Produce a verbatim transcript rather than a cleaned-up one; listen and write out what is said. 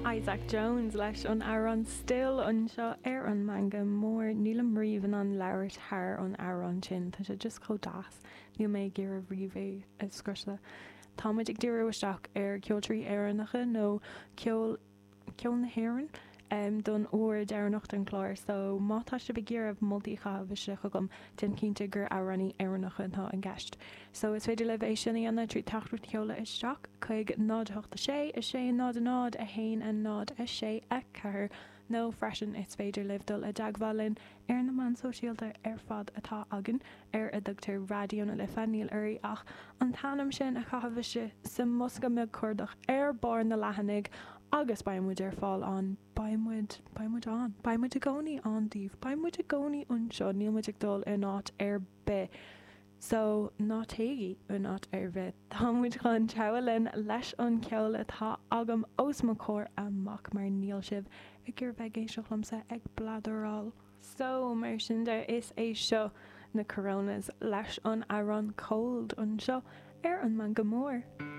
Isaac Jones leis an amhrán Still anseo ar an Meangadh Mór nílim riamh in ann labhairt thar an amhrán sin tá sé just chomh deas níl mé ag iarraidh riamh é a scriosadh. Tá muid ag díriú isteach ar ceoltóirí Éireannacha nó ceol ceol na hÉireann um, don uair deireanach den chlár, so má tá sibh ag iarraidh moltaí a chaitheamh isteach chugam déan cinnte gur amhránaí Éireannacha atá i gceist. So is féidir libh é sin a dhéanamh trí teachtaireacht a sheoladh isteach chuig náid hocht a sé a sé náid náid a haon a náid a sé a ceathair nó freisin is féidir libh dul i dteagmháil linn ar na meáin sóisialta ar fad atá againn ar a dtugtar Raidió na Life níl oraibh ach an t-ainm sin a chaitheamh isteach sa mbosca beag cuardach ar barr na leathanaigh agus beidh muid ar fáil an beidh muid beidh muid ann beidh muid i gcónaí ann daoibh beidh muid i gcónaí anseo níl muid ag dul in áit ar bith. So ná téigí in áit ar bith Tá muid chun treabhadh linn leis an ceol atá agam os mo chomhair amach mar níl sibh ag iarraidh bheith ag éisteacht liomsa ag blatheráil. So mar sin de is é seo na Coronas leis an amhrán Cold anseo ar an Meangadh Mór.